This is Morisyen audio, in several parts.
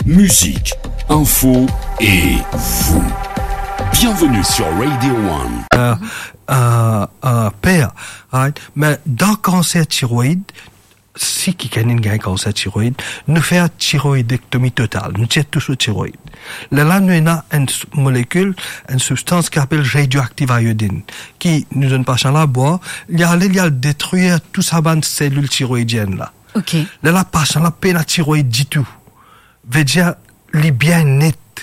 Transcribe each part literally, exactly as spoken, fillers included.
Musique, info et vous. Bienvenue sur Radio One. Euh, euh, euh, per, right? Me dan kanser tiroid, si kikenn inn gagn kanser tiroid, nou fer tiroidektomi total, nou tir tou so tiroid. Lerla nou ena enn s-, molekil, enn sibstans ki apel radioactive iodine, ki nou donn pasian la bwar, li ale, li al detrir tou sa bann selil tiroidienn la. Ok. Lerla pasian la pena tiroid ditou. Vedir, li bien net.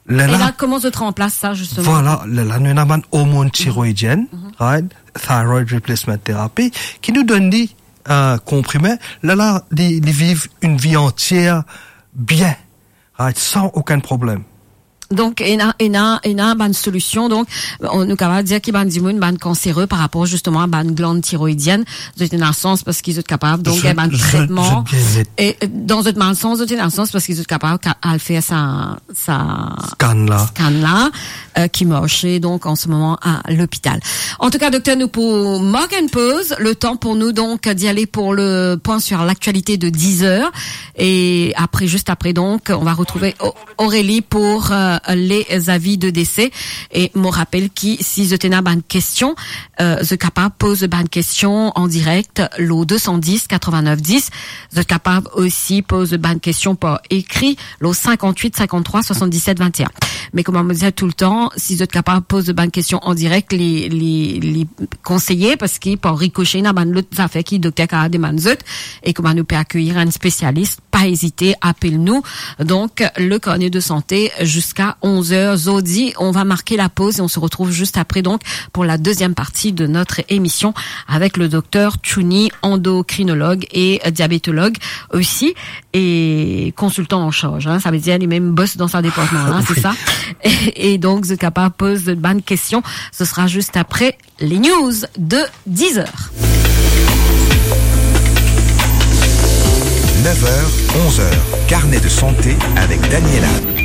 E Lerla la, kouma zot ranplas sa, zisteman? Vwala, lerla nou ena bann ormonn tiroidienn, right? Thyroid replacement therapy, ki nou donn li, euh, konprime. Lerla, li, li viv enn vi antier bien, right? San okenn problem. Donk, ena, ena, ena bann solision. Donk, on, nou kapav dir ki bann dimoun, bann kansere par rapor zisteman a bann glann tiroidienn, zot ena sans parski zot kapav, donk, zot, gagn bann zot, tretman. Zot bien net. E, euh, dan zot malsans, zot ena sans parski zot kapav ka-, al fer sa, sa scan la. Scan la, euh, ki marse, donk, an se moman a lopital. Antouka, dokter, nou pou mark enn poz, le tan pou nou, donk, d'y ale pou le pwin sur l'actualité de dix heures. E apre, zis apre, donk, on va retrouver O-, Aurélie pour, euh, les avis de décès. E mo rapel ki si zot ena bann kestion, euh, zot kapav poz bann kestion an direk, lo deux cent dix quatre-vingt-neuf dix. Zot kapav osi poz bann kestion par ekri, lo cinquante-huit cinquante-trois soixante-dix-sept vingt et un. Me kouma mo dir toultan, si zot kapav poz bann kestion an direk, li, li, li konseye, parski par rikose, ena bann lot zafer ki dokter kapav demann zot, e kouma nou pe akeyir enn spesialis, pa ezite, apel nou. Donc, le carnet de santé jusqu'à onze heures zordi. On va marquer la pause et on se retrouve juste après, donc, pour la deuxième partie de notre émission avec le docteur Chouni, endocrinologue et diabétologue aussi, et consultant en charge, hein. Sa ve dir, li mem bos dan sa departman la, se sa? Oui. Et donc, zot kapav poz bann kestion. Ce sera juste après les news de dix heures. Neuf heures, onze heures, carnet de santé avec Daniela.